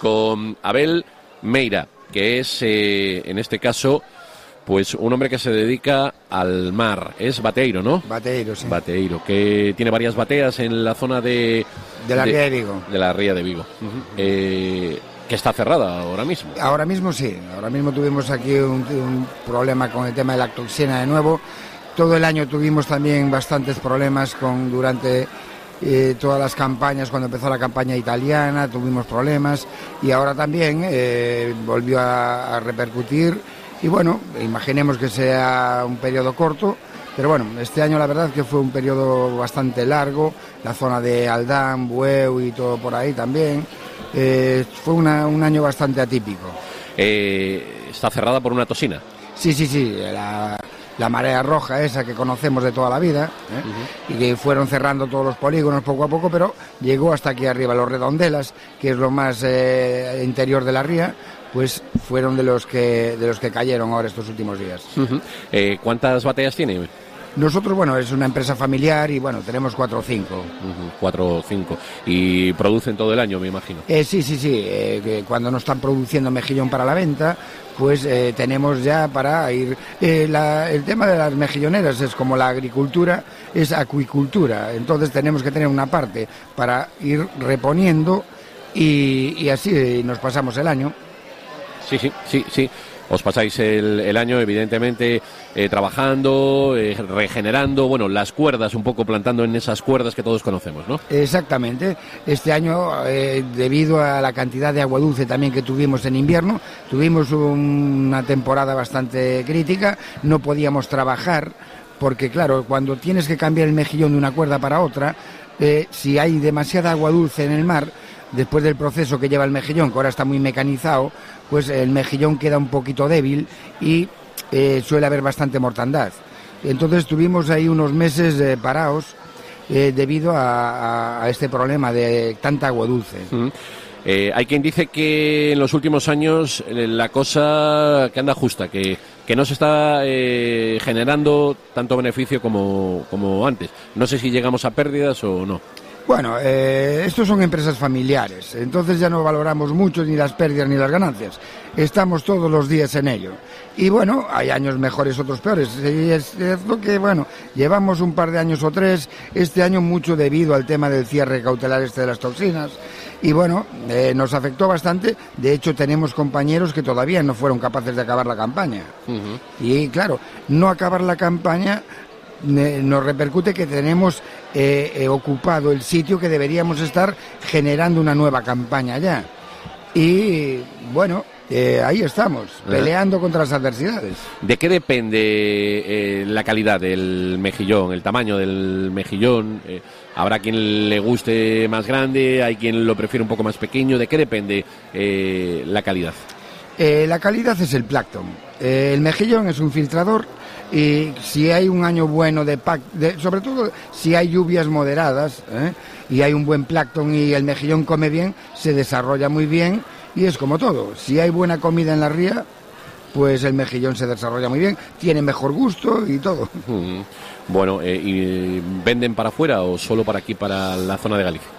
con Abel Meira, que es, en este caso, pues un hombre que se dedica al mar. Es bateiro, ¿no? Bateiro, sí. Bateiro, que tiene varias bateas en la zona de la Ría de Vigo. De la Ría de Vigo. Que está cerrada ahora mismo. Ahora mismo sí. Ahora mismo tuvimos aquí un problema con el tema de la toxina de nuevo. Todo el año tuvimos también bastantes problemas durante todas las campañas. Cuando empezó la campaña italiana tuvimos problemas y ahora también volvió a repercutir. Y bueno, imaginemos que sea un periodo corto, pero bueno, este año la verdad que fue un periodo bastante largo, la zona de Aldán, Bueu y todo por ahí también. Fue un año bastante atípico. ¿Está cerrada por una toxina? Sí, la marea roja esa que conocemos de toda la vida, y que fueron cerrando todos los polígonos poco a poco, pero llegó hasta aquí arriba. Los Redondelas, que es lo más interior de la ría, pues fueron de los que cayeron ahora estos últimos días. ¿Cuántas bateas tiene? Nosotros, bueno, es una empresa familiar y bueno, tenemos 4 o 5. 4 o 5. ¿Y producen todo el año, me imagino? Sí. Que cuando no están produciendo mejillón para la venta, pues tenemos ya para ir... el tema de las mejilloneras es como la agricultura, es acuicultura. Entonces tenemos que tener una parte para ir reponiendo y así nos pasamos el año. Sí. Os pasáis el año, evidentemente, trabajando, regenerando, bueno, las cuerdas, un poco plantando en esas cuerdas que todos conocemos, ¿no? Exactamente. Este año, debido a la cantidad de agua dulce también que tuvimos en invierno, tuvimos una temporada bastante crítica, no podíamos trabajar, porque claro, cuando tienes que cambiar el mejillón de una cuerda para otra, si hay demasiada agua dulce en el mar, después del proceso que lleva el mejillón, que ahora está muy mecanizado, pues el mejillón queda un poquito débil y suele haber bastante mortandad. Entonces tuvimos ahí unos meses parados debido a este problema de tanta agua dulce. Hay quien dice que en los últimos años la cosa que anda justa, que no se está generando tanto beneficio como antes. No sé si llegamos a pérdidas o no. Bueno, estos son empresas familiares, entonces ya no valoramos mucho ni las pérdidas ni las ganancias. Estamos todos los días en ello. Y bueno, hay años mejores, otros peores. Y es cierto que, bueno, llevamos un par de años o 3, este año mucho debido al tema del cierre cautelar de las toxinas. Y bueno, nos afectó bastante. De hecho, tenemos compañeros que todavía no fueron capaces de acabar la campaña. Y claro, no acabar la campaña nos repercute que tenemos ocupado el sitio que deberíamos estar generando una nueva campaña ya. Y bueno, ahí estamos, peleando contra las adversidades. ¿De qué depende la calidad del mejillón, el tamaño del mejillón? Habrá quien le guste más grande, hay quien lo prefiere un poco más pequeño. ¿De qué depende la calidad? La calidad es el plancton. El mejillón es un filtrador y si hay un año bueno sobre todo si hay lluvias moderadas y hay un buen plancton y el mejillón come bien, se desarrolla muy bien y es como todo. Si hay buena comida en la ría, pues el mejillón se desarrolla muy bien, tiene mejor gusto y todo. Bueno, ¿y venden para afuera o solo para aquí, para la zona de Galicia?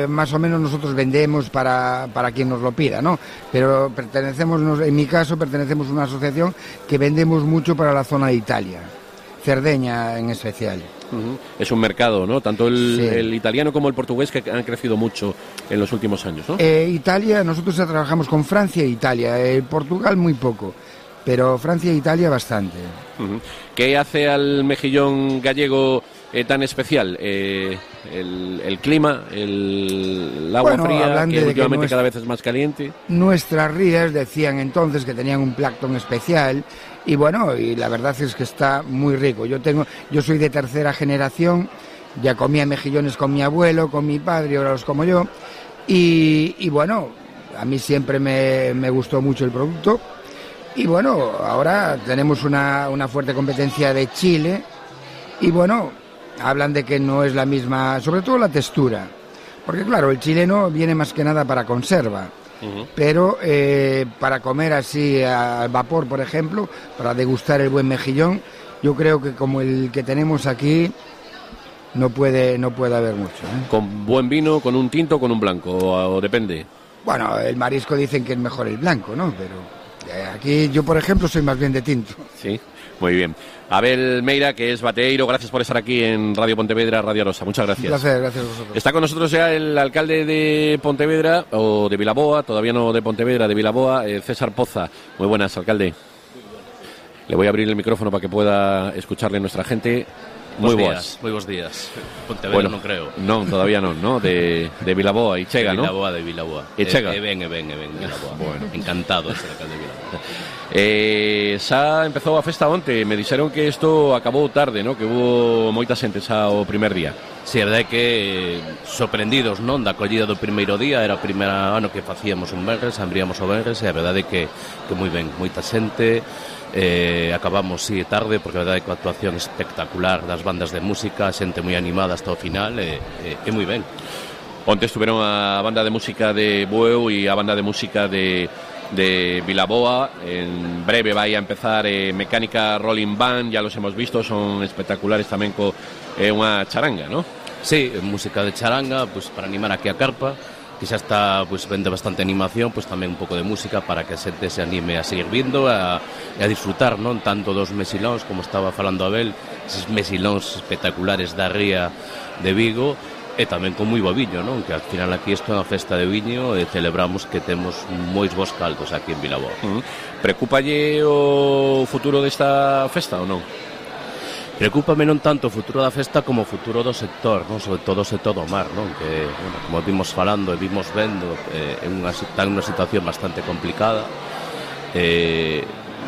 Más o menos nosotros vendemos para quien nos lo pida, ¿no? Pero en mi caso pertenecemos a una asociación que vendemos mucho para la zona de Italia, Cerdeña en especial. Es un mercado, ¿no? Tanto el italiano como el portugués que han crecido mucho en los últimos años, ¿no? Italia, nosotros trabajamos con Francia e Italia, Portugal muy poco, pero Francia e Italia bastante. ¿Qué hace al mejillón gallego tan especial? El clima, el agua fría, que últimamente cada vez es más caliente. Nuestras rías decían entonces que tenían un plancton especial y bueno, y la verdad es que está muy rico. Yo soy de tercera generación, ya comía mejillones con mi abuelo, con mi padre, ahora los como yo y bueno, a mí siempre me gustó mucho el producto y bueno, ahora tenemos una fuerte competencia de Chile y bueno, hablan de que no es la misma, sobre todo la textura, porque claro, el chileno viene más que nada para conserva, pero para comer así al vapor, por ejemplo, para degustar el buen mejillón, yo creo que como el que tenemos aquí no puede haber mucho. ¿Con buen vino, con un tinto o con un blanco? ¿O depende? Bueno, el marisco dicen que es mejor el blanco, ¿no? Pero aquí yo, por ejemplo, soy más bien de tinto. Sí, muy bien. Abel Meira, que es bateeiro, gracias por estar aquí en Radio Pontevedra, Radio Arosa. Muchas gracias. Un placer, gracias a vosotros. Está con nosotros ya el alcalde de Pontevedra, o de Vilaboa, todavía no de Pontevedra, de Vilaboa, César Poza. Muy buenas, alcalde. Le voy a abrir el micrófono para que pueda escucharle nuestra gente. Muy buenos días. Pontevedra bueno, non creo. Non, todavía non, ¿no? De Vilaboa e chega, ¿no? De Vilaboa. E chega. Vilaboa. Bueno, encantado de ser alcalde de Vilaboa. Xa empezou a festa onte, me dixeron que isto acabou tarde, ¿no? Que hubo moita xente xa o primer día. Si, a verdade é que sorprendidos, non, da acollida do primeiro día, era o primeiro ano que facíamos un venres, abríamos o venres, e a verdade é que moi ben, moita xente. Acabamos tarde porque a verdade é que a actuación espectacular das bandas de música, xente moi animada hasta o final e moi ben. Onte estuveron a banda de música de Bueu e a banda de música de Vilaboa. En breve vai a empezar Mecánica Rolling Band, ya los hemos visto, son espectaculares tamén co unha charanga, ¿no? Sí, música de charanga, pues para animar aquí a carpa, que xa está, pues vende bastante animación, pues tamén un pouco de música para que a xente se anime a seguir vindo e a disfrutar, non tanto dos mesilóns, como estaba falando Abel, esos mesilóns espectaculares da ría de Vigo, e tamén con moi bo viño, non? Que al final aquí isto é unha festa de viño e celebramos que temos mois bons caldos aquí en Vilaboa. Preocúpalle o futuro desta festa ou non? Preocúpame non tanto o futuro da festa como o futuro do sector, non? Sobre todo o sector do mar, non? Que, bueno, como vimos falando e vimos vendo, está en unha situación bastante complicada.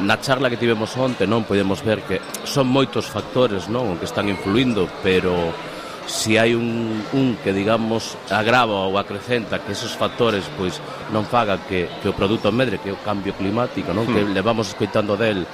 Na charla que tivemos onte, non, podemos ver que son moitos factores, non, que están influindo, pero si hai un que, digamos, agrava ou acrecenta que esos factores pois non faga que o produto medre, que é o cambio climático, non? Que levamos escoitando del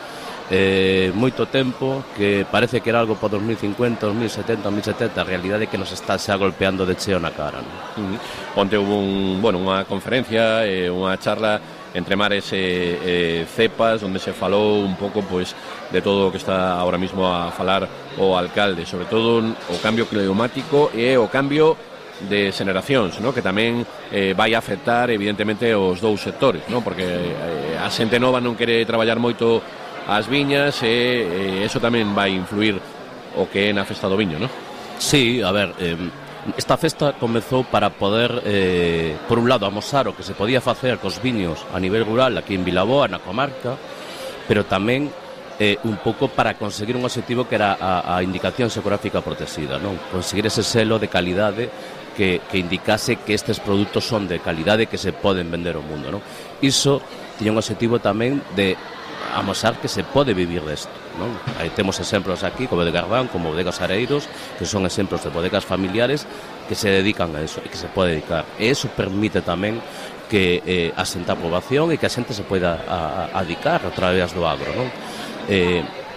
moito tempo, que parece que era algo para 2050, 2070, 2070, a realidade é que nos está xa golpeando de cheo na cara, non? Onte hubo unha conferencia, unha charla entre mares e cepas, onde se falou un pouco pois de todo o que está ahora mismo a falar o alcalde, sobre todo o cambio climático e o cambio de xeneracións, ¿no? Que tamén vai afectar evidentemente os dous sectores, ¿no? Porque a xente nova non quere traballar moito as viñas e eso tamén vai influir o que é na festa do viño, ¿no? Sí, a ver, esta festa comezou para poder, por un lado, amosar o que se podía facer cos viños a nivel rural aquí en Vilaboa, na comarca, pero tamén un pouco para conseguir un objetivo que era a indicación xeográfica protexida, non? Conseguir ese selo de calidade que indicase que estes produtos son de calidade que se poden vender ao mundo, non? Iso tiña un objetivo tamén de amosar que se pode vivir desto, non? Aí temos exemplos aquí, como de Gardán, como bodegas Areiros, que son exemplos de bodegas familiares que se dedican a eso e que se pode dedicar. E eso permite tamén que asenta a poboación e que a xente se poida adicar a través do agro, non?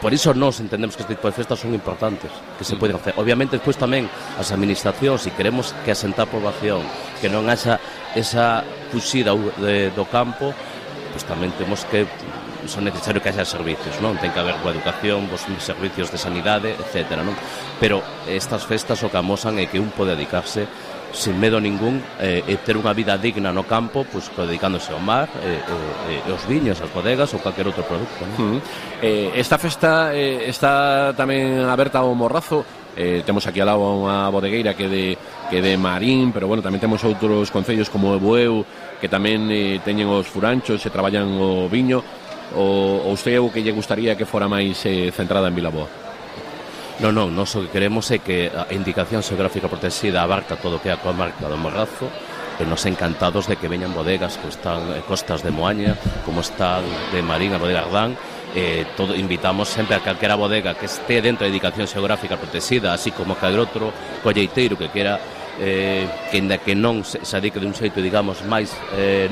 Por iso nós entendemos que este tipo de festas son importantes, que se poden hacer. Obviamente, despois tamén as administracións, se queremos que asenta a poboación, que non haxa esa fuxida do campo, pois tamén temos que son necesario que haxa servicios, non? Ten que haber coa educación, os servicios de sanidade, etc., non? Pero estas festas o que amosan é que un pode dedicarse sin medo ningún e ter unha vida digna no campo, pois dedicándose ao mar, aos viños, as bodegas ou calquer outro produto, non? Esta festa está tamén aberta ao Morrazo. Temos aquí ao lado unha bodegueira que de Marín, pero bueno, tamén temos outros concellos como Bueu que tamén teñen os furanchos e traballan o viño. Ou usted o que lle gustaría que fora máis centrada en Vilaboa? Non, nós o que queremos é que a indicación xeográfica protexida abarca todo o que é a comarca do Morrazo, e nos encantados de que veñan bodegas que están costas de Moaña, como están de Marín, a bodega Ardán. Invitamos sempre a calquera bodega que este dentro da indicación xeográfica protexida, así como calquer outro colleiteiro que quera que ainda que non se adique de un xeito, digamos, máis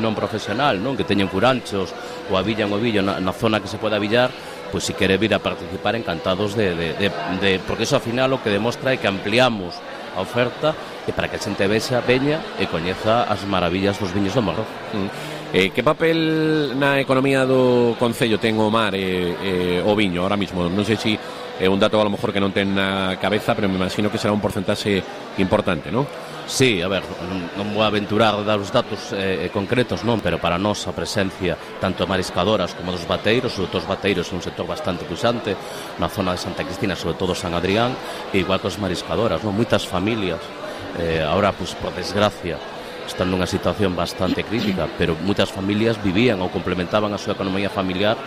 non profesional, non? Que teñen furanchos ou avillan o villo na zona que se pode avillar, pois se quere vir a participar, encantados porque iso ao final o que demostra é que ampliamos a oferta e para que a xente veña e coñeza as maravillas dos viños do Morro. Que papel na economía do concello ten o mar e o viño ahora mismo? Non sei se un dato a lo mejor que non ten na cabeza, pero me imagino que será un porcentaxe importante, non? Sí, a ver, non vou aventurar a dar os datos concretos, non, pero para nós a presencia tanto de mariscadoras como dos bateiros, sobre todo os bateiros é un sector bastante puxante na zona de Santa Cristina, sobre todo San Adrián, e igual que os mariscadoras, non, moitas familias ahora, pues, por desgracia, están nunha situación bastante crítica, pero moitas familias vivían ou complementaban a súa economía familiar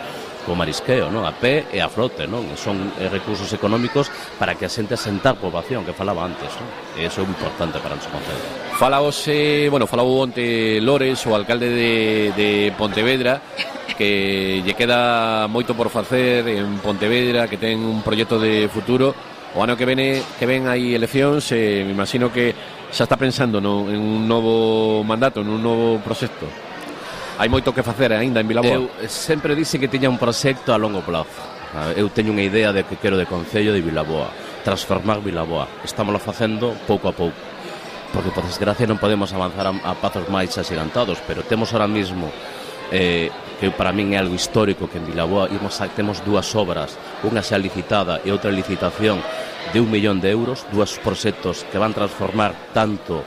co marisqueo, non? A pé e a flote, non? Son recursos económicos para que a xente asentar poboación, que falaba antes, non? E iso é importante para o noso concello. Falou onte Lores, o alcalde de Pontevedra, que lle queda moito por facer en Pontevedra, que ten un proxecto de futuro. O ano que ven hai eleccións, me imagino que xa está pensando en un novo mandato, en un novo proxecto. Hai moito que facer aínda en Vilaboa. Eu sempre dixen que tiña un proxecto a longo plazo. Eu teño unha idea de que quero de Concello de Vilaboa, transformar Vilaboa. Estámoslo facendo pouco a pouco, porque por desgracia non podemos avanzar a pasos máis axigantados, pero temos ahora mismo que para min é algo histórico, que en Vilaboa temos dúas obras, unha xa licitada e outra licitación de 1 millón de euros, dúas proxectos que van transformar tanto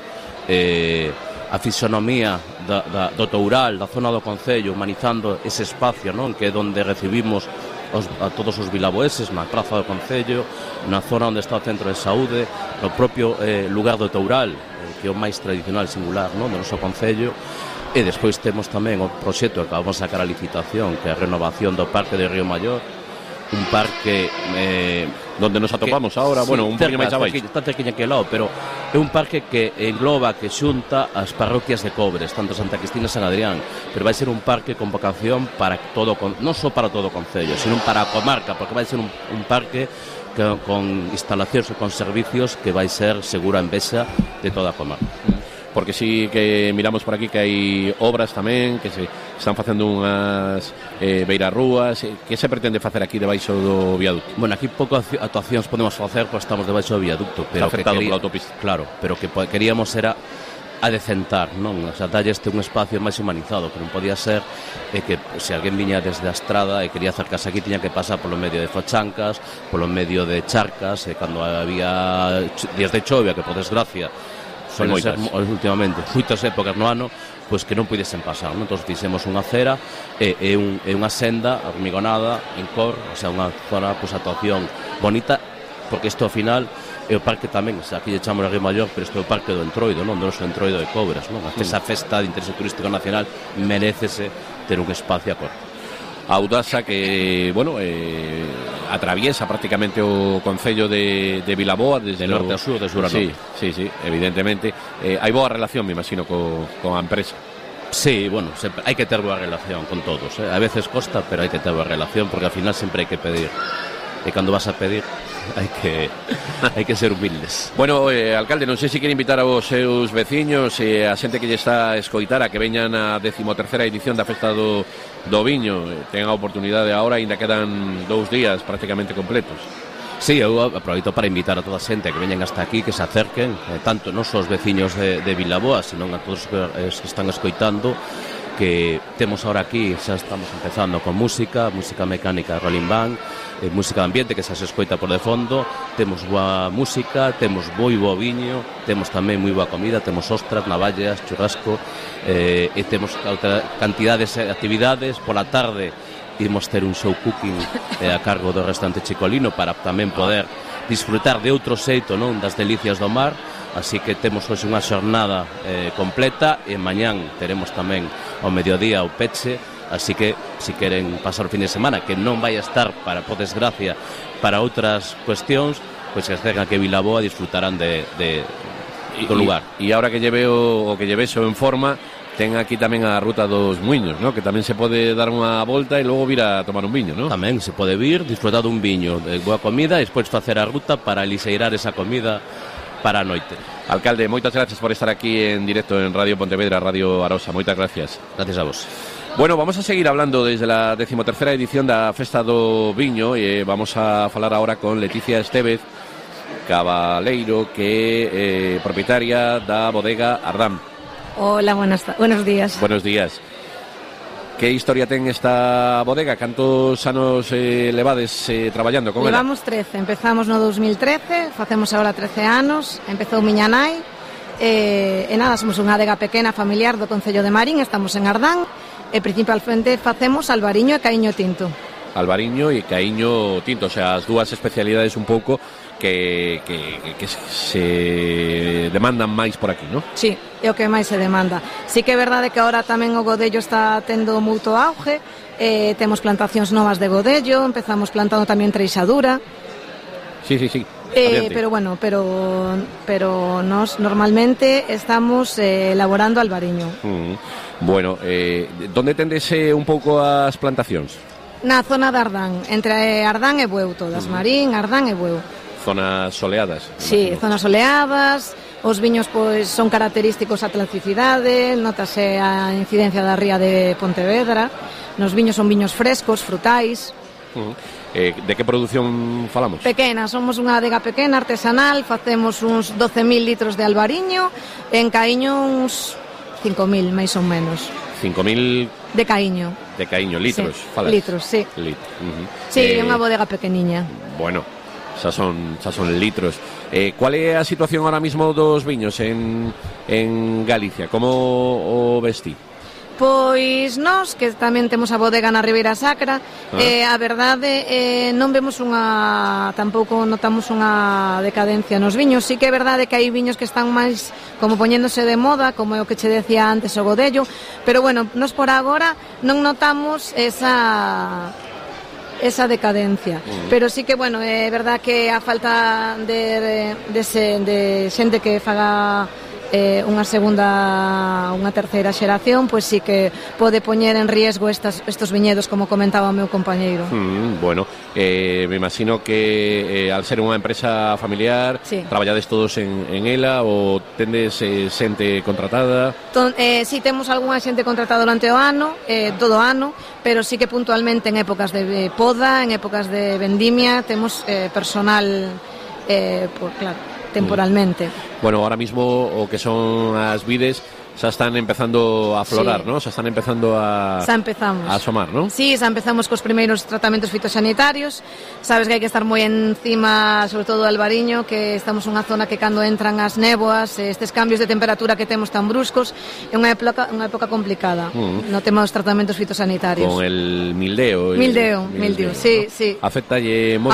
a fisonomía do Toural, da zona do Concello, humanizando ese espacio, non, que é onde recibimos a todos os vilaboeses, na praza do Concello, na zona onde está o centro de saúde, no propio lugar do Toural, que é o máis tradicional singular, non, do noso Concello. E despois temos tamén o proxecto que vamos a sacar a licitación, que é a renovación do Parque de Río Maior, un parque donde nos atopamos ahora, sí, bueno, un poquinho máis abaixo. Está cerquiña que lado, pero é un parque que engloba, que xunta as parroquias de Cobres, tanto Santa Cristina e San Adrián, pero vai ser un parque con vocación para todo, non só para todo o concello, sino para a comarca, porque vai ser un parque con instalacións e con servicios que vai ser segura envexa de toda a comarca. Porque sí que miramos por aquí que hai obras tamén, que se están facendo unhas beirarrúas. Que se pretende facer aquí debaixo do viaducto? Bueno, aquí pouco actuacións podemos facer, porque estamos debaixo do viaducto, pero está afectado pola autopista. Claro, pero que queríamos era adecentar, non? O sea, dalle un espacio máis humanizado, que non podía ser que se alguén viña desde a estrada e quería acercarse aquí, tiña que pasar polo medio de fochancas, polo medio de charcas, e cando había días de chovia, que por desgracia suelen ser últimamente moitas épocas no ano, pois que non puidesen pasar, non? Entón fixemos unha acera e unha senda hormigonada en cor, o sea, unha zona, pois, actuación bonita, porque isto ao final é o parque tamén, o sea, aquí lle chamamos a Río Maior, pero isto é o parque do Entroido, non? Do noso Entroido de Cobres, non? Esa festa de interese turístico nacional merécese ter un espacio a cor. A Audasa, que, bueno, atraviesa prácticamente o concello de Vilaboa desde de norte a sur, de sur a norte. Sí, evidentemente. Hai boa relación, me imagino, con a empresa. Sí, bueno, sempre, hai que ter boa relación con todos, A veces costa, pero hai que ter boa relación, porque ao final sempre hai que pedir. E cando vas a pedir, hai que ser humildes. Bueno, alcalde, non sei se quere invitar aos seus veciños e a xente que lle está a escoitar a que veñan a 13ª edición da Festa do Viño. Ten a oportunidade agora, ainda quedan 2 días prácticamente completos. Sí, eu aproveito para invitar a toda a xente que veñan hasta aquí, que se acerquen, tanto non só os veciños de Vilaboa, sino a todos os que están escoitando, que temos ahora aquí, xa estamos empezando con música mecánica, rolling band, música de ambiente que xa se escoita por de fondo, temos boa música, temos moi boa viño, temos tamén moi boa comida, temos ostras, navallas, churrasco, e temos outra cantidades de actividades. Pola tarde imos ter un show cooking a cargo do restaurante Chicolino, para tamén poder disfrutar de outro xeito, non, das delicias do mar. Así que temos hoxe unha xornada completa, e mañán teremos tamén ao mediodía o peche. Así que, se queren pasar o fin de semana, que non vai a estar, por desgracia, para outras cuestións, pois que acercan que Vilaboa disfrutarán do lugar. E agora que lle vexo en forma, ten aquí tamén a Ruta dos Muiños, ¿no? Que tamén se pode dar unha volta e logo vir a tomar un viño, ¿no? Tamén se pode vir, disfrutar dun viño, de boa comida, e despois facer a ruta para liseirar esa comida para a noite. Alcalde, moitas gracias por estar aquí en directo en Radio Pontevedra, Radio Arosa. Moitas gracias. Gracias a vos. Bueno, vamos a seguir hablando desde la 13ª edición da Festa do Viño, e vamos a falar ahora con Leticia Estévez Cabaleiro, que é propietaria da bodega Ardán. Hola, buenos días. Buenos días. Que historia ten esta bodega? Cantos anos levades traballando con ela? Levamos 13, empezamos no 2013, facemos agora 13 anos, empezou miña nai, e nada, somos unha adega pequena familiar do Concello de Marín, estamos en Ardán, e principalmente facemos albariño e caíño tinto. Albariño e caíño tinto, o sea, as dúas especialidades un pouco que se demandan máis por aquí, non? Sí, é o que máis se demanda. Sí que é verdade que agora tamén o godello está tendo moito auge, temos plantacións novas de godello, empezamos plantando tamén treixadura. Sí. Pero bueno, pero nós normalmente estamos elaborando albariño. Bueno, donde tendes un pouco as plantacións? Na zona de Ardán, entre Ardán e Bueu, todas, Marín, Ardán e Bueu. Zonas soleadas? Sí, zonas soleadas, os viños pois son característicos a tlaxicidade, notase a incidencia da ría de Pontevedra, nos viños son viños frescos, frutais. De que produción falamos? Pequena, somos unha adega pequena, artesanal, facemos uns 12.000 litros de albariño, en caíño uns 5.000, máis ou menos. 5.000 de caíño. De caíño, litros, sí. falas? Litros, sí. Sí, é unha bodega pequeniña. Bueno, xa son litros. Cual é a situación ahora mismo dos viños en Galicia? Como o vestí? Pois nós, que tamén temos a bodega na Ribeira Sacra, a verdade non vemos tampouco notamos unha decadencia nos viños. Sí que é verdade que hai viños que están máis como poñéndose de moda, como é o que che decía antes o godello, pero bueno, nós por agora non notamos esa decadencia, pero sí que bueno, é verdade que a falta de xente que faga unha segunda, unha terceira xeración, pois sí que pode poñer en riesgo estos viñedos, como comentaba o meu compañeiro. Bueno, me imagino que al ser unha empresa familiar, sí, traballades todos en ela ou tendes xente contratada? Sí, temos algunha xente contratada durante o ano, todo o ano, pero sí que puntualmente en épocas de poda, en épocas de vendimia, temos personal, claro, temporalmente. Bueno, ahora mismo o que son as vides xa están empezando a florar, sí, ¿no? Xa están empezando a asomar, ¿no? Sí, xa empezamos cos primeiros tratamentos fitosanitarios. Sabes que hai que estar moi encima, sobre todo do albariño, que estamos nunha zona que cando entran as néboas, estes cambios de temperatura que temos tan bruscos, é unha época complicada. Non temos tratamentos fitosanitarios. Con el mildeo. Mildeo, sí, sí. Afectalle moito.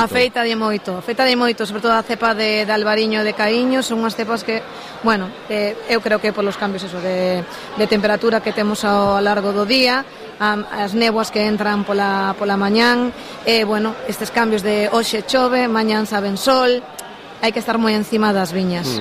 Afectalle moito, sobre todo a cepa de albariño e de caíño, son unhas cepas que, bueno, eu creo que polos cambios de temperatura que temos ao largo do día, as néboas que entran pola mañán, bueno, estes cambios de hoxe chove, mañán saben sol, hai que estar moi encima das viñas.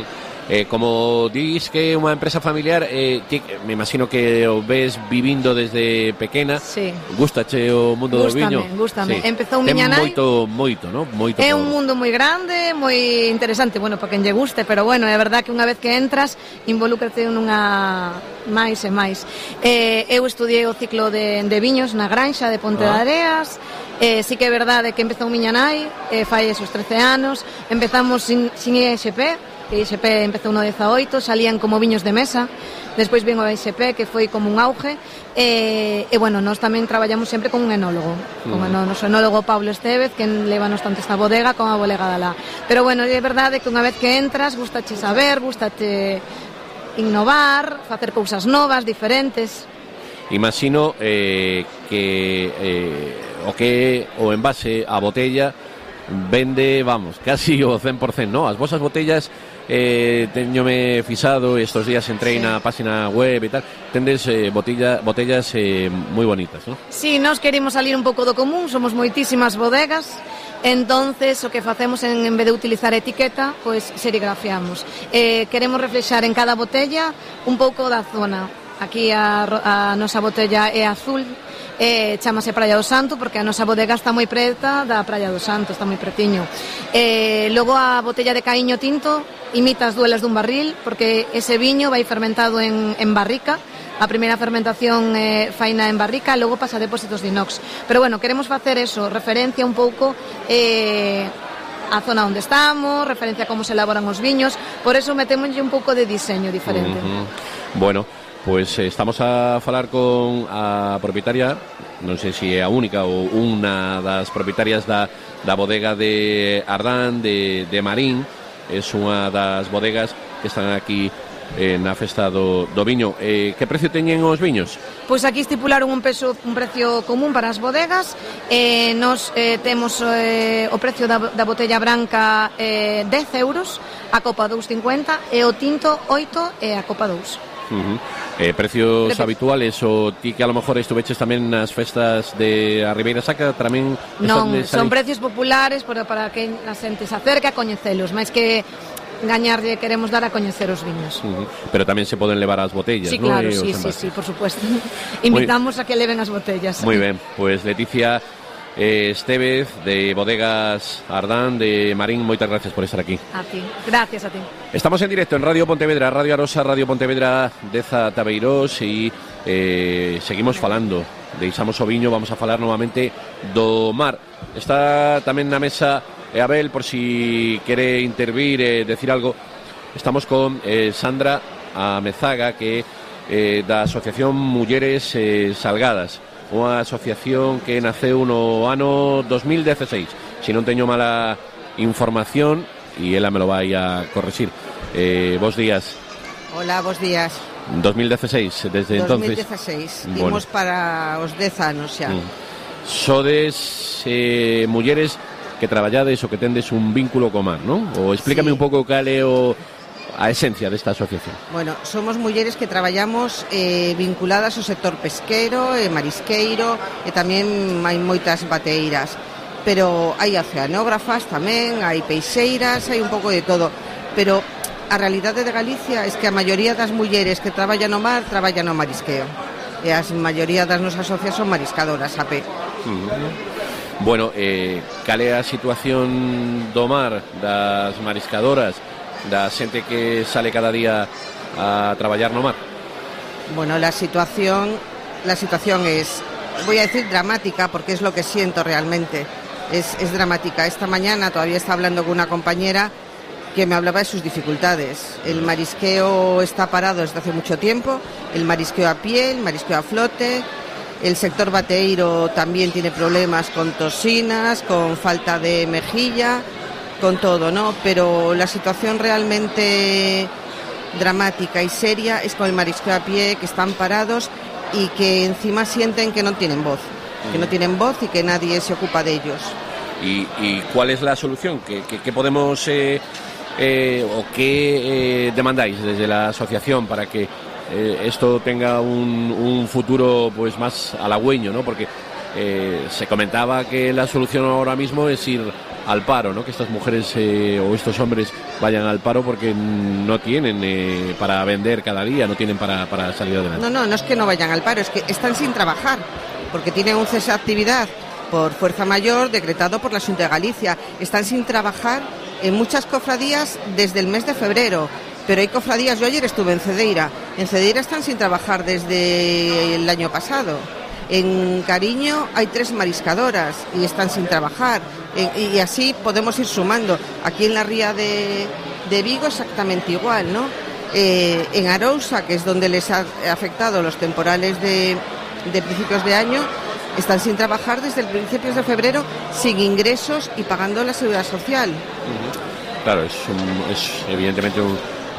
Como dis que é unha empresa familiar, me imagino que o ves vivindo desde pequena. Sí. Gústache o mundo do viño? Gústame. Sí. Empezou miña nai. Moito, ¿no? Moito. É un mundo moi grande, moi interesante, bueno, para quen lle guste, pero bueno, é verdad que unha vez que entras, involúcrate nunha máis e máis. Eu estudiei o ciclo de viños na Granxa de Ponte de Areas. Sí que é verdade que empezou miña nai, fai esos 13 anos, empezamos sin ISP. Que ISP empezou no 18, salían como viños de mesa, despois vino a ISP, que foi como un auge, e bueno, nós tamén traballamos sempre con un enólogo, con o noso enólogo Pablo Estevez, que levanos tanto esta bodega como a bodega da lá. Pero bueno, é verdade que unha vez que entras, gustache saber, gustache innovar, facer cousas novas, diferentes. Imagino que o envase a botella vende, vamos, casi o 100%, ¿no? As vosas botellas, teñome fixado, estos días entrei na página web e tal, tendes botellas moi bonitas, ¿no? Sí, nós queremos salir un pouco do común, somos moitísimas bodegas, entonces o que facemos en vez de utilizar etiqueta, pois serigrafiamos. Queremos reflexar en cada botella un pouco da zona. Aquí a nosa botella é azul, chamase Praia do Santo porque a nosa bodega está moi preta da Praia do Santo, está moi pretiño. Logo a botella de caíño tinto imita as duelas dun barril porque ese viño vai fermentado en barrica. A primeira fermentación faina en barrica, logo pasa a depósitos de inox. Pero bueno, queremos facer eso, referencia un pouco a zona onde estamos, referencia a como se elaboran os viños, por eso metémoslle un pouco de diseño diferente. Bueno, Pois estamos a falar con a propietaria, non sei se é a única ou unha das propietarias da bodega de Ardán, de Marín. É unha das bodegas que están aquí na festa do viño. Que precio teñen os viños? Pois aquí estipularon un precio común para as bodegas. Nos temos o precio da botella branca 10 euros, a copa 2,50 e o tinto 8 e a copa 2. Precios habituales, o ti que a lo mejor estuveches tamén nas festas de a Ribeira Sacra tamén? Non, son precios populares para que a xente se acerque a coñecelos, máis que gañarlle queremos dar a coñecer os viños. Pero tamén se poden levar as botellas, sí, ¿no? Claro, sí, por supuesto. Invitamos a que leven as botellas. Moi ben, pois Leticia Estevez, de Bodegas Ardán, de Marín, moitas gracias por estar aquí. A ti, gracias a ti. Estamos en directo en Radio Pontevedra, Radio Arosa, Radio Pontevedra Deza Tabeirós, e seguimos falando. Deixamos o viño, vamos a falar novamente do mar. Está tamén na mesa Abel, por si quere intervir, decir algo. Estamos con Sandra Amezaga, que da Asociación Mulleres Salgadas, unha asociación que naceu no ano 2016, se non teño mala información, e ela me lo vai a corregir. Bos días. Hola, bos días. 2016, desde 2016, imos para os 10 anos xa. Sodes mulleres que traballades ou que tendes un vínculo co mar, non? Ou explícame un pouco cal é a esencia desta asociación. Bueno, somos mulleres que traballamos vinculadas ao sector pesquero e marisqueiro, e tamén hai moitas bateiras, pero hai oceanógrafas tamén, hai peixeiras, hai un pouco de todo, pero a realidade de Galicia é que a maioría das mulleres que traballan no mar traballan no marisqueo, e a maioría das nosas socias son mariscadoras a pé. Bueno, cal é a situación do mar, das mariscadoras, da xente que sale cada día a traballar no mar? Bueno, la situación es, voy a decir dramática, porque es lo que siento realmente, es dramática. Esta mañana todavía estaba hablando con una compañera que me hablaba de sus dificultades. El marisqueo está parado desde hace mucho tiempo, el marisqueo a pie, el marisqueo a flote, el sector bateiro también tiene problemas con tosinas, con falta de mejilla, con todo, ¿no? Pero la situación realmente dramática y seria es con el marisqueo a pie, que están parados y que encima sienten que no tienen voz, y que nadie se ocupa de ellos. ¿Y cuál es la solución? ¿Qué podemos o qué demandáis desde la asociación para que esto tenga un futuro pues más halagüeño, ¿no? Porque se comentaba que la solución ahora mismo es ir al paro, ¿no? Que estas mujeres o estos hombres vayan al paro porque no tienen para vender cada día, no tienen para salir adelante. No es que no vayan al paro, es que están sin trabajar, porque tienen un cese de actividad por fuerza mayor decretado por la Xunta de Galicia. Están sin trabajar en muchas cofradías desde el mes de febrero, pero hay cofradías, yo ayer estuve en Cedeira están sin trabajar desde el año pasado. En Cariño hay 3 mariscadoras y están sin trabajar, y así podemos ir sumando. Aquí en la ría de Vigo exactamente igual, ¿no? En Arousa, que es donde les ha afectado los temporales de principios de año, están sin trabajar desde el principios de febrero, sin ingresos y pagando la seguridad social. Claro, es evidentemente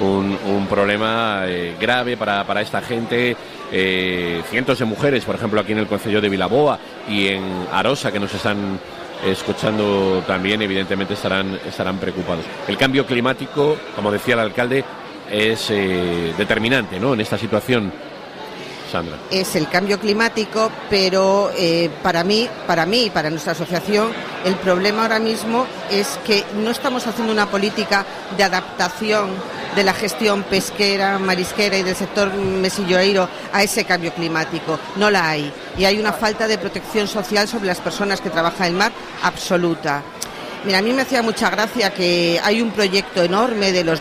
un problema grave para esta gente. Cientos de mujeres, por ejemplo, aquí en el concello de Vilaboa y en Arosa, que nos están escuchando también, evidentemente estarán preocupados. El cambio climático, como decía el alcalde, es determinante, ¿no?, en esta situación. Sandra. Es el cambio climático, pero para mí y para nuestra asociación, el problema ahora mismo es que no estamos haciendo una política de adaptación de la gestión pesquera, marisquera y del sector mesilloeiro a ese cambio climático. No la hay. Y hay una falta de protección social sobre las personas que trabajan en el mar absoluta. Mira, a mí me hacía mucha gracia que hay un proyecto enorme de los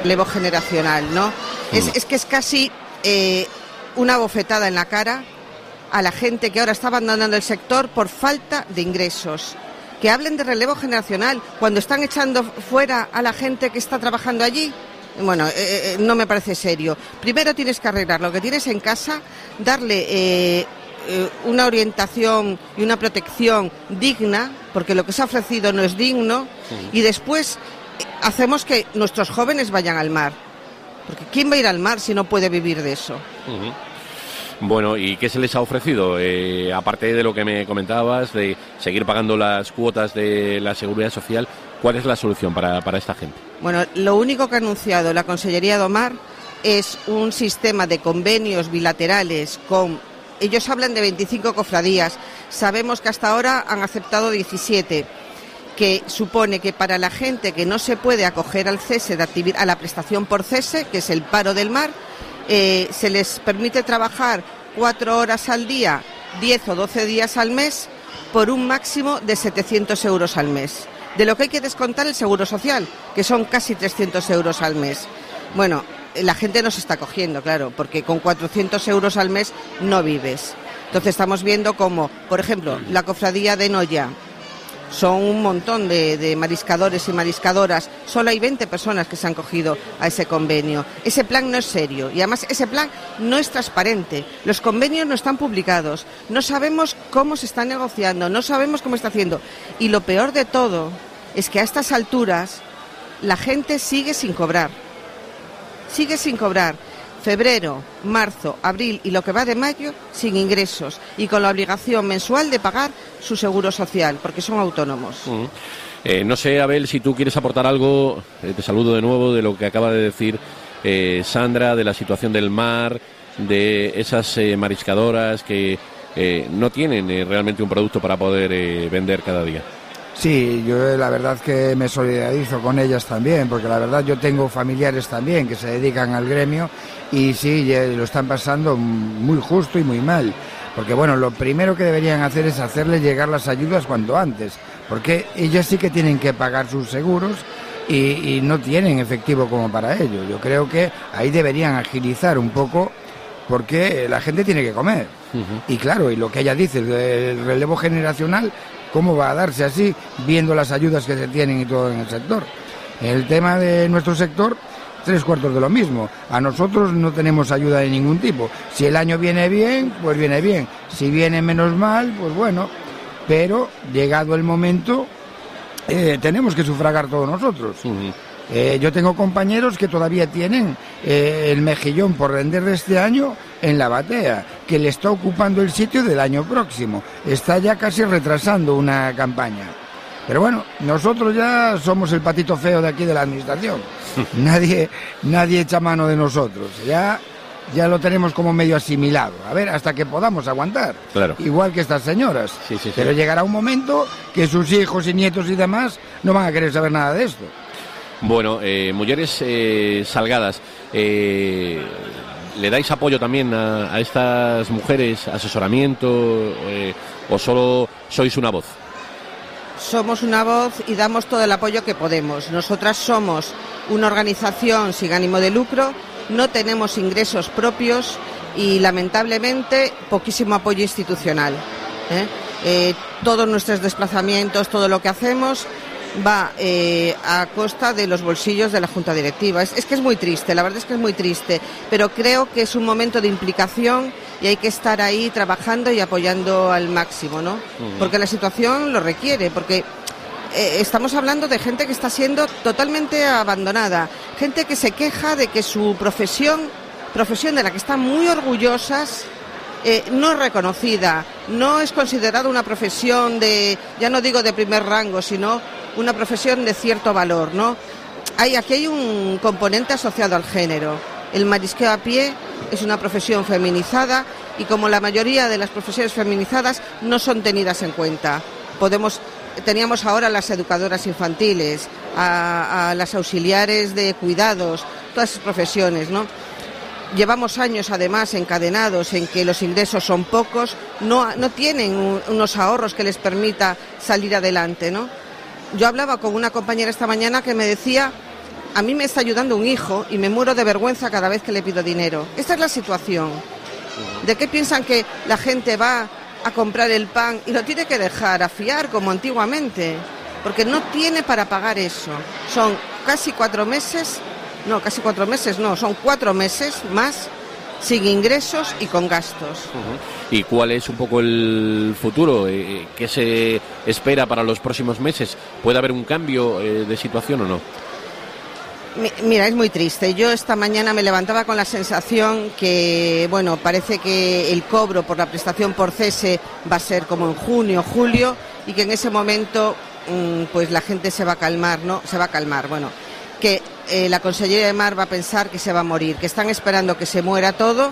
relevo generacional, ¿no? Es que es casi una bofetada en la cara a la gente que ahora está abandonando el sector por falta de ingresos. Que hablen de relevo generacional cuando están echando fuera a la gente que está trabajando allí. bueno, no me parece serio. Primero tienes que arreglar lo que tienes en casa, darle una orientación y una protección digna, porque lo que se ha ofrecido no es digno, y después hacemos que nuestros jóvenes vayan al mar. Porque ¿quién va a ir al mar si no puede vivir de eso? Bueno, ¿y qué se les ha ofrecido? Aparte de lo que me comentabas, de seguir pagando las cuotas de la Seguridad Social, ¿cuál es la solución para esta gente? Bueno, lo único que ha anunciado la Consellería do Mar es un sistema de convenios bilaterales con... Ellos hablan de 25 cofradías, sabemos que hasta ahora han aceptado 17, que supone que para la gente que no se puede acoger al cese de actividad, a la prestación por cese, que es el paro del mar, se les permite trabajar 4 horas al día, 10 o 12 días al mes, por un máximo de 700 euros al mes. De lo que hay que descontar el seguro social, que son casi 300 euros al mes. Bueno, la gente no se está cogiendo, claro, porque con 400 euros al mes no vives. Entonces estamos viendo como, por ejemplo, la cofradía de Noya, son un montón de mariscadores y mariscadoras, solo hay 20 personas que se han cogido a ese convenio. Ese plan no es serio y además ese plan no es transparente. Los convenios no están publicados, no sabemos cómo se está negociando, no sabemos cómo está haciendo. Y lo peor de todo es que a estas alturas la gente sigue sin cobrar. Sigue sin cobrar. Febrero, marzo, abril y lo que va de mayo sin ingresos y con la obligación mensual de pagar su seguro social, porque son autónomos. No sé, Abel, si tú quieres aportar algo, te saludo de nuevo, de lo que acaba de decir Sandra, de la situación del mar, de esas mariscadoras que no tienen realmente un producto para poder vender cada día. Sí, yo la verdad que me solidarizo con ellas también, porque la verdad yo tengo familiares también que se dedican al gremio y sí, lo están pasando muy justo y muy mal. Porque bueno, lo primero que deberían hacer es hacerles llegar las ayudas cuanto antes, porque ellas sí que tienen que pagar sus seguros y no tienen efectivo como para ello. Yo creo que ahí deberían agilizar un poco porque la gente tiene que comer. Y claro, y lo que ella dice, el relevo generacional, ¿cómo va a darse así, viendo las ayudas que se tienen y todo en el sector? El tema de nuestro sector, 3/4 de lo mismo. A nosotros no tenemos ayuda de ningún tipo. Si el año viene bien, pues viene bien. Si viene menos mal, pues bueno. Pero, llegado el momento, tenemos que sufragar todos nosotros. Yo tengo compañeros que todavía tienen el mejillón por vender de este año en la batea, que le está ocupando el sitio del año próximo. Está ya casi retrasando una campaña. Pero bueno, nosotros ya somos el patito feo de aquí de la administración. Nadie echa mano de nosotros. Ya lo tenemos como medio asimilado. A ver, hasta que podamos aguantar. Claro. Igual que estas señoras. Sí. Pero llegará un momento que sus hijos y nietos y demás no van a querer saber nada de esto. Bueno, Mujeres Salgadas, ¿le dais apoyo también a estas mujeres, asesoramiento, o solo sois una voz? Somos una voz y damos todo el apoyo que podemos. Nosotras somos una organización sin ánimo de lucro, no tenemos ingresos propios y lamentablemente poquísimo apoyo institucional. Todos nuestros desplazamientos, todo lo que hacemos va a costa de los bolsillos de la Junta Directiva. Es que es muy triste, la verdad es que es muy triste, pero creo que es un momento de implicación y hay que estar ahí trabajando y apoyando al máximo, ¿no? Porque la situación lo requiere, porque estamos hablando de gente que está siendo totalmente abandonada, gente que se queja de que su profesión de la que están muy orgullosas, no es reconocida, no es considerada una profesión ya no digo de primer rango, sino una profesión de cierto valor, ¿no? Aquí hay un componente asociado al género. El marisqueo a pie es una profesión feminizada y como la mayoría de las profesiones feminizadas no son tenidas en cuenta. Teníamos ahora las educadoras infantiles, a las auxiliares de cuidados, todas esas profesiones, ¿no? Llevamos años además encadenados en que los ingresos son pocos, no tienen unos ahorros que les permita salir adelante, ¿no? Yo hablaba con una compañera esta mañana que me decía: a mí me está ayudando un hijo y me muero de vergüenza cada vez que le pido dinero. Esta es la situación. ¿De qué piensan que la gente va a comprar el pan y lo tiene que dejar a fiar como antiguamente? Porque no tiene para pagar eso. Son casi 4 meses no, casi 4 meses, no, son 4 meses más sin ingresos y con gastos. ¿Y cuál es un poco el futuro? ¿Qué se espera para los próximos meses? ¿Puede haber un cambio de situación o no? Mira, es muy triste. Yo esta mañana me levantaba con la sensación que, bueno, parece que el cobro por la prestación por cese va a ser como en junio, julio, y que en ese momento pues la gente se va a calmar, ¿no? Se va a calmar, bueno, que la Consellería de Mar va a pensar que se va a morir, que están esperando que se muera todo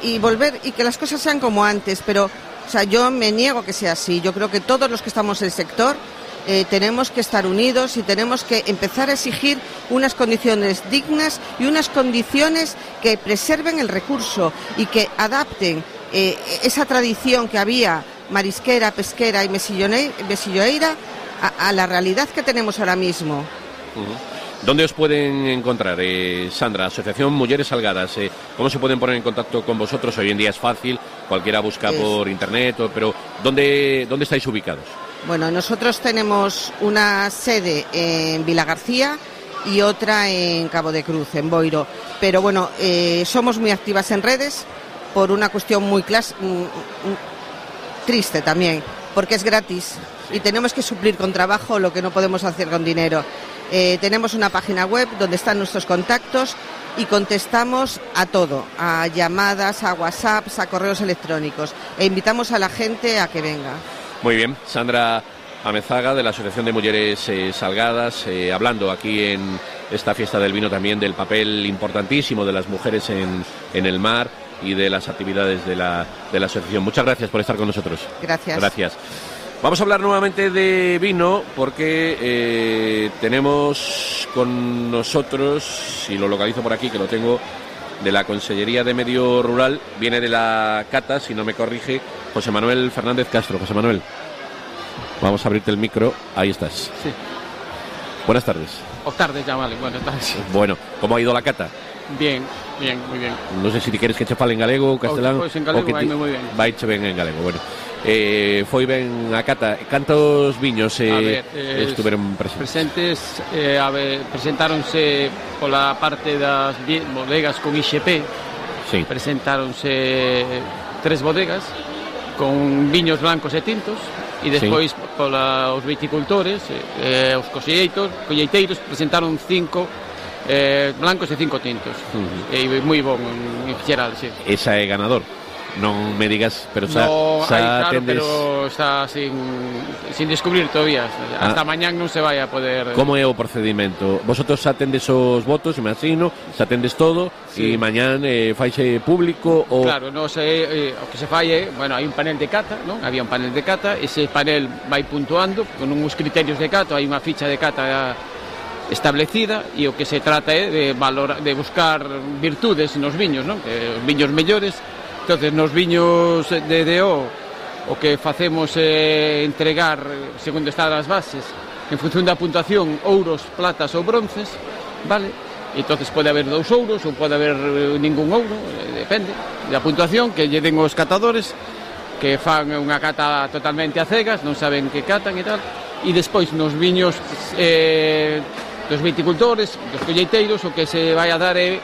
y volver, y que las cosas sean como antes, pero, o sea, yo me niego a que sea así. Yo creo que todos los que estamos en el sector tenemos que estar unidos y tenemos que empezar a exigir unas condiciones dignas y unas condiciones que preserven el recurso y que adapten esa tradición que había marisquera, pesquera y mesilloeira a la realidad que tenemos ahora mismo. ¿Dónde os pueden encontrar, Sandra? Asociación Mujeres Salgadas. ¿Cómo se pueden poner en contacto con vosotros? Hoy en día es fácil, cualquiera busca por internet, pero ¿dónde estáis ubicados? Bueno, nosotros tenemos una sede en Vilagarcía y otra en Cabo de Cruz, en Boiro. Pero bueno, somos muy activas en redes por una cuestión muy triste también, porque es gratis y tenemos que suplir con trabajo lo que no podemos hacer con dinero. Tenemos una página web donde están nuestros contactos y contestamos a todo, a llamadas, a WhatsApps, a correos electrónicos, e invitamos a la gente a que venga. Muy bien, Sandra Amezaga, de la Asociación de Mujeres Salgadas, hablando aquí en esta fiesta del vino también del papel importantísimo de las mujeres en el mar y de las actividades de la asociación. Muchas gracias por estar con nosotros. Gracias. Gracias. Vamos a hablar nuevamente de vino porque tenemos con nosotros, si lo localizo por aquí, que lo tengo, de la Consellería de Medio Rural, viene de la cata, si no me corrige, José Manuel Fernández Castro. José Manuel, vamos a abrirte el micro, ahí estás. Sí. Buenas tardes. O tardes ya, vale, buenas tardes. Bueno, ¿cómo ha ido la cata? Bien, muy bien. Non sei se ti queres que che fale en galego ou castelán. Pois en galego vai moi ben. Vaiche ben en galego, bueno. Foi ben a cata. Cantos viños estuveron presentes? Presentáronse pola parte das bodegas con IXP. Sí. Presentáronse 3 bodegas con viños blancos e tintos e despois pola os viticultores, os colleiteiros presentaron 5 blancos e 5 tintos. E moi bon en xeral, sí. Esa é ganador. Non me digas, pero no, claro, atendes... pero está sin descubrir todavía. Hasta mañán non se vai a poder... Como é o procedimento? Vosotros atendes os votos, imagino, se atendes todo, e mañán faixe público ou... Claro, no sei, o que se fai é, bueno, hai un panel de cata, non? Había un panel de cata, ese panel vai puntuando con uns criterios de cata, hai unha ficha de cata establecida e o que se trata é de buscar virtudes nos viños, non? Que os viños mellores. Entonces, nos viños de DO o que facemos é entregar, segundo están as bases, en función da puntuación, ouros, platas ou bronces, vale? E entonces pode haber 2 ouros ou pode haber ningún ouro, depende da puntuación que lle den os catadores, que fan unha cata totalmente a cegas, non saben que catan e tal, e despois nos viños dos viticultores, dos colleiteiros, o que se vai a dar é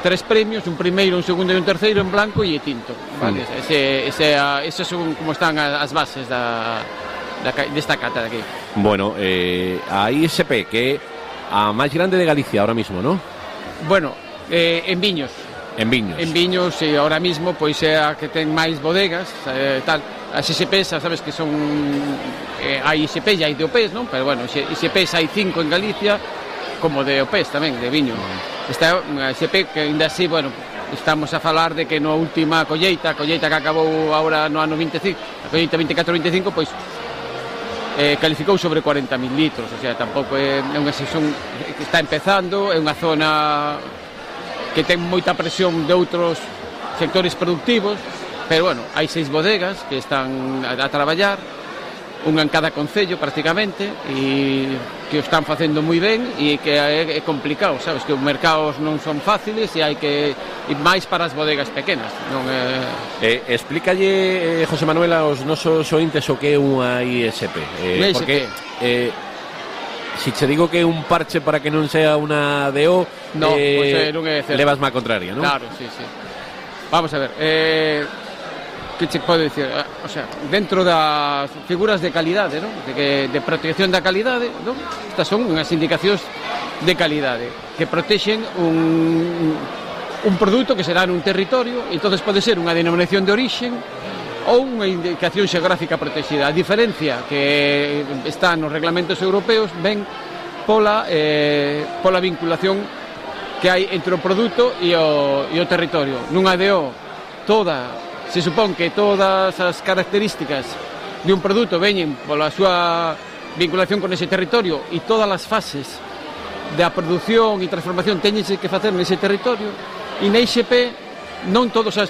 3 premios, un primeiro, un segundo e un terceiro en blanco e tinto, vale? Ese son como están as bases desta cata de aquí. Bueno, a ISP, que é a máis grande de Galicia ahora mismo, ¿no? Bueno, en viños. En viños. En viños, e ahora mismo, pois é a que ten máis bodegas, tal. As ISPs, sabes que son... hai ISP e hai DOPs, non? Pero bueno, ISPs hai 5 en Galicia, como de OPs tamén, de viño. Esta é unha ISP que ainda así, bueno, estamos a falar de que na última colleita que acabou agora no ano 25, a colleita 24-25, pois calificou sobre 40.000 litros, o sea, tampouco é unha sesión que está empezando, é unha zona que ten moita presión de outros sectores productivos, pero bueno, hai 6 bodegas que están a traballar, unha en cada concello prácticamente, e que o están facendo moi ben, e que é complicado, sabes, que os mercados non son fáciles e hai que ir máis para as bodegas pequenas, non é... Explícalle, José Manuel, aos nosos ointes o que é unha ISP, porque si che digo que un parche para que non sea unha DO, non é certo. Levas má contraria, non? Claro, sí. Vamos a ver, que che pode dicir? O sea, dentro das figuras de calidade, non? De protección da calidade, non? Estas son unhas indicacións de calidade que protexen un produto que será nun territorio, e entonces pode ser unha denominación de orixen ou unha indicación xeográfica protegida. A diferencia que está nos reglamentos europeos ven pola vinculación que hai entre o produto e o territorio. Nunha DO se supón que todas as características de un produto veñen pola súa vinculación con ese territorio e todas as fases da produción e transformación teñense que facer nese territorio, e na IXP non todas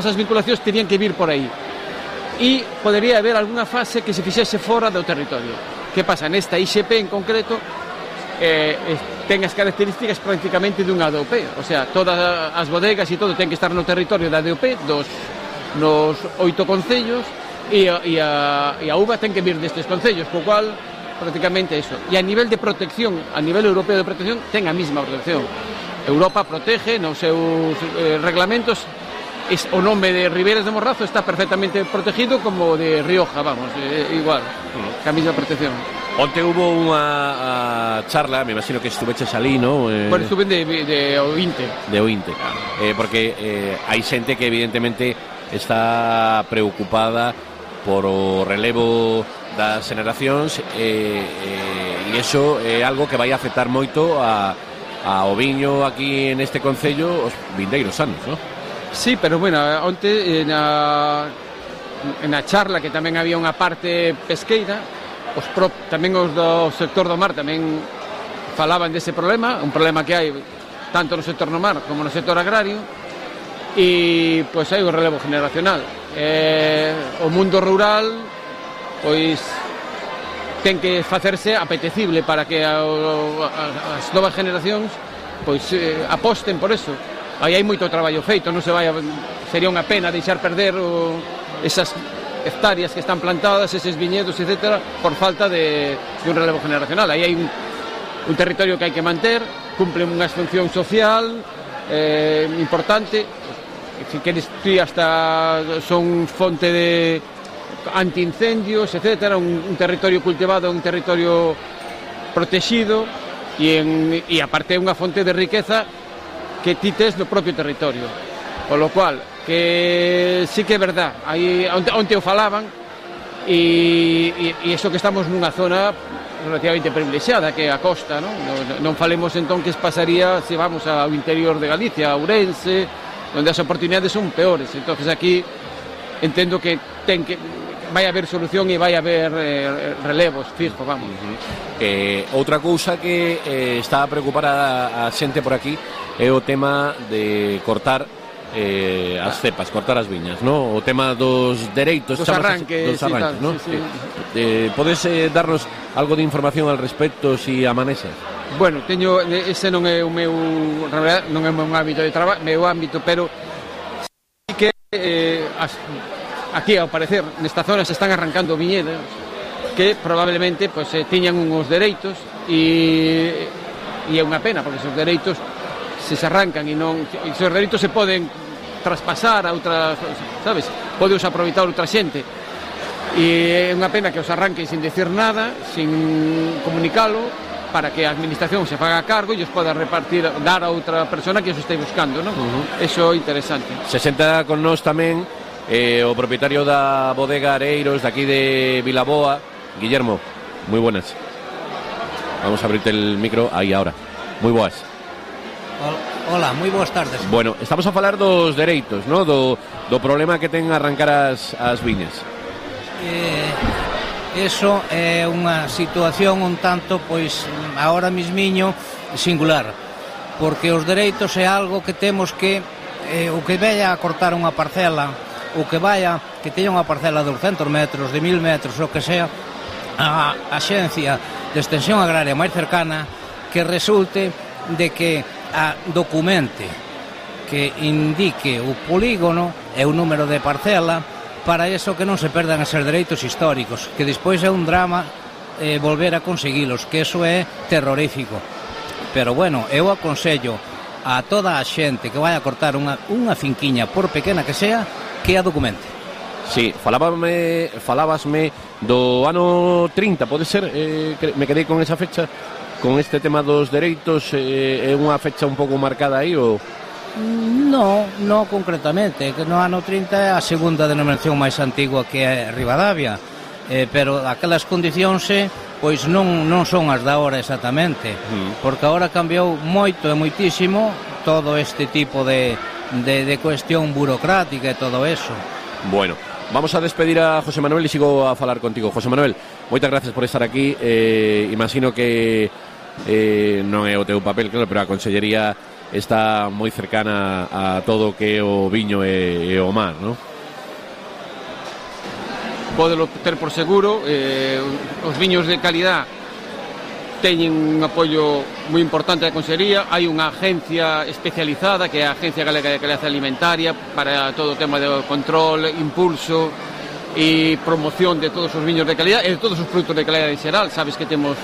as vinculacións terían que vir por aí, e podería haber algunha fase que se fixese fora do territorio. Que pasa? Nesta IXP en concreto ten as características prácticamente dunha DOP, o sea, todas as bodegas e todo ten que estar no territorio da DOP nos 8 concellos, e a uva ten que vir destes concellos, co cual prácticamente eso. E a nivel de protección, a nivel europeo de protección, ten a mesma protección. Europa protege nos seus reglamentos, o nome de Ribeiras de Morrazo está perfectamente protegido como de Rioja, vamos, igual, que a mesma protección. Onte hubo unha charla, me imagino que estuveches ali, ¿no? Bueno, estuve de Ointe. De Ointe, porque hai xente que evidentemente está preocupada por o relevo das generacións, e iso é algo que vai afectar moito ao viño aquí en este concello os vindeiros anos, ¿no? Sí, pero bueno, onte na charla que tamén había unha parte pesqueira, tamén os do sector do mar tamén falaban dese problema, un problema que hai tanto no sector do mar como no sector agrario, e pois hai un relevo generacional. O mundo rural pois ten que facerse apetecible para que as novas generacións pois aposten por eso. Aí hai moito traballo feito, non sería unha pena deixar perder esas hectáreas que están plantadas, eses viñedos, etcétera, por falta de un relevo generacional. Aí hai un territorio que hai que manter, cumple unha función social importante, si queres ti hasta son fonte de antiincendios, etcétera, un territorio cultivado, un territorio protegido, e aparte unha fonte de riqueza que ti tes no propio territorio. Con lo cual, que sí que é verdad, aí onte o falaban, e iso que estamos nunha zona relativamente privilexiada, que é a costa, non falemos entón que pasaría se vamos ao interior de Galicia, a Ourense, onde as oportunidades son peores. Entonces aquí entendo que vai haber solución e vai haber relevos fijo, vamos. Outra cousa que está a preocupar a xente por aquí é o tema de cortar as cepas, cortar as viñas, ¿no? O tema dos dereitos, dos arranques, ¿no? Sí. Podes darnos algo de información al respecto si a manexas? Bueno, ese non é o meu, na verdade, non é o meu ámbito de traballo, meu ámbito, pero sí que aquí, ao parecer, nesta zona se están arrancando viñedos que probablemente pues, tiñan uns dereitos, e é unha pena, porque esos dereitos se arrancan e esos dereitos se poden traspasar a outras, sabes? Podeos aproveitar outra xente, e é unha pena que os arranquen sin decir nada, sin comunicalo, para que a administración se faga a cargo e os poda repartir, dar a outra persona que os este buscando, non? Eso é interesante. Se senta con nós tamén o propietario da bodega Areiros de aquí de Vilaboa, Guillermo. Muy buenas. Vamos a abrirte el micro aí ahora. Moi boas. Hola, moi boas tardes. Bueno, estamos a falar dos dereitos, ¿no? Do problema que ten arrancar as viñas. Eso é unha situación un tanto, pois, agora mismiño singular, porque os dereitos é algo que temos que o que vaya a cortar unha parcela, o que teña unha parcela de 200 metros, de 1000 metros, o que sea, a axencia de extensión agraria máis cercana que resulte de que documente, que indique o polígono e o número de parcela, para eso que non se perdan eses dereitos históricos, que despois é un drama volver a conseguilos, que eso é terrorífico. Pero bueno, eu aconsello a toda a xente que vai a cortar unha finquiña, por pequena que sea, que a documente. Sí, falábasme do ano 30, pode ser? Me quedei con esa fecha, con este tema dos dereitos, é unha fecha un pouco marcada aí, ou... No concretamente, que no ano 30 é a segunda denominación máis antigua que é Ribadavia, pero aquelas condicións pois non son as da hora exactamente, porque agora cambiou moito e moitísimo todo este tipo de cuestión burocrática e todo eso. Bueno, vamos a despedir a José Manuel e sigo a falar contigo. José Manuel, moitas gracias por estar aquí. Imagino que non é o teu papel, claro, pero a Consellería está moi cercana a todo o que é o viño e o mar, non? Pódelo ter por seguro, os viños de calidad teñen un apoio moi importante da Consellería. Hai unha agencia especializada que é a Agencia Galega de Calidad Alimentaria para todo o tema de control, impulso e promoción de todos os viños de calidad e de todos os produtos de calidad en xeral. Sabes que temos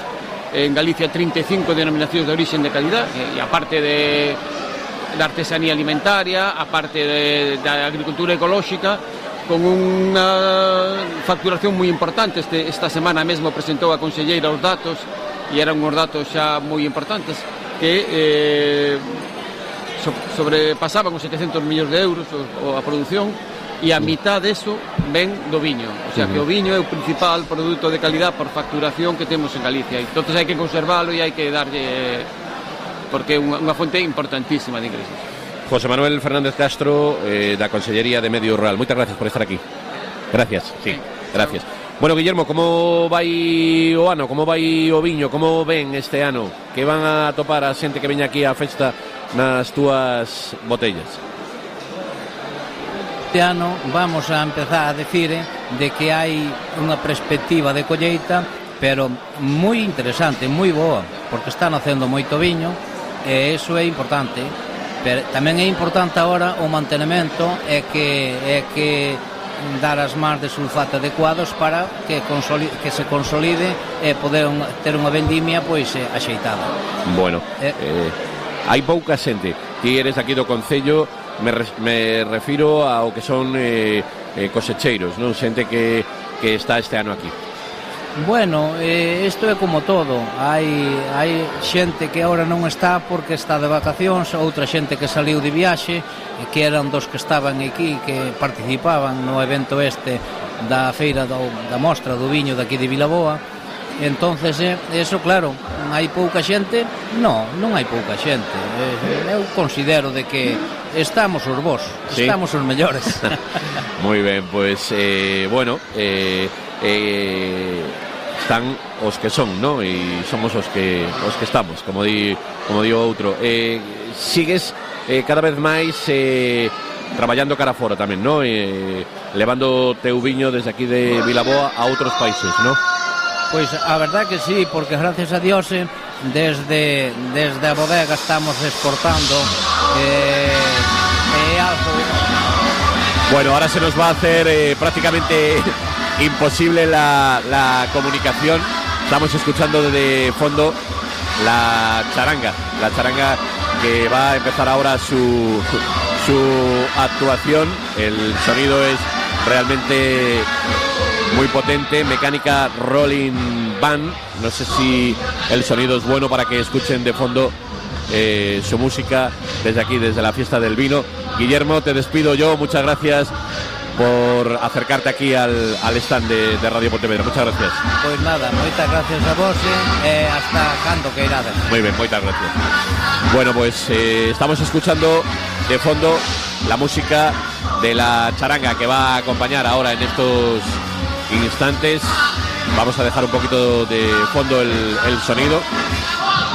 en Galicia 35 denominacións de origen de calidad e aparte da artesanía alimentaria, aparte da agricultura ecolóxica, con unha facturación moi importante. Esta semana mesmo presentou a conselleira os datos e eran uns datos xa moi importantes que sobrepasaban os 700 millóns de euros a produción, e a mitad deso ven do viño, o sea que o viño é o principal produto de calidad por facturación que temos en Galicia, e entonces hai que conservalo e hai que darlle, porque é unha fonte importantísima de ingresos. José Manuel Fernández Castro, da Consellería de Medio Rural, moitas gracias por estar aquí. Gracias, sí, gracias. Bueno, Guillermo, como vai o ano, como vai o viño, como ven este ano? Que van a topar a xente que veña aquí á festa nas túas botellas? Este ano vamos a empezar a decir de que hai unha perspectiva de colleita, pero moi interesante, moi boa, porque están facendo moito viño e iso é importante. Pero tamén é importante agora o mantenimento e que dar as mans de sulfato adecuados para que se consolide e poder ter unha vendimia pois axeitada. Bueno, hai pouca xente. Ti eres aquí do Concello, me refiro ao que son cosecheiros, non? Xente que está este ano aquí. Bueno, isto é como todo. Hai xente que agora non está porque está de vacacións, outra xente que saliu de viaxe, que eran dos que estaban aquí, que participaban no evento da feira da mostra do viño daqui de Vilaboa. Entonces, eso claro, hai pouca xente? Non hai pouca xente. Eu considero de que estamos os bos, ¿sí? Estamos os mellores. Moi ben, pois, bueno, están os que son, ¿no? E somos os que estamos, como di o outro. Sigues cada vez máis traballando cara fora tamén, ¿no? Levando teu viño desde aquí de Vilaboa a outros países, ¿no? Pois a verdad que sí, porque gracias a Dios desde a bodega estamos exportando algo. Bueno, ahora se nos va a hacer prácticamente imposible la comunicación. Estamos escuchando desde fondo la charanga que va a empezar ahora su actuación. El sonido es realmente muy potente, mecánica Rolling Band. No sé si el sonido es bueno para que escuchen de fondo su música desde aquí, desde la fiesta del vino. Guillermo, te despido yo, muchas gracias por acercarte aquí al stand de Radio Pontevedra. Muchas gracias. Pois nada, moitas gracias a vos hasta cando que irades. Muy bien, moitas gracias. Bueno, pues estamos escuchando de fondo la música de la charanga que va a acompañar ahora en estos instantes. Vamos a dejar un poquito de fondo el sonido.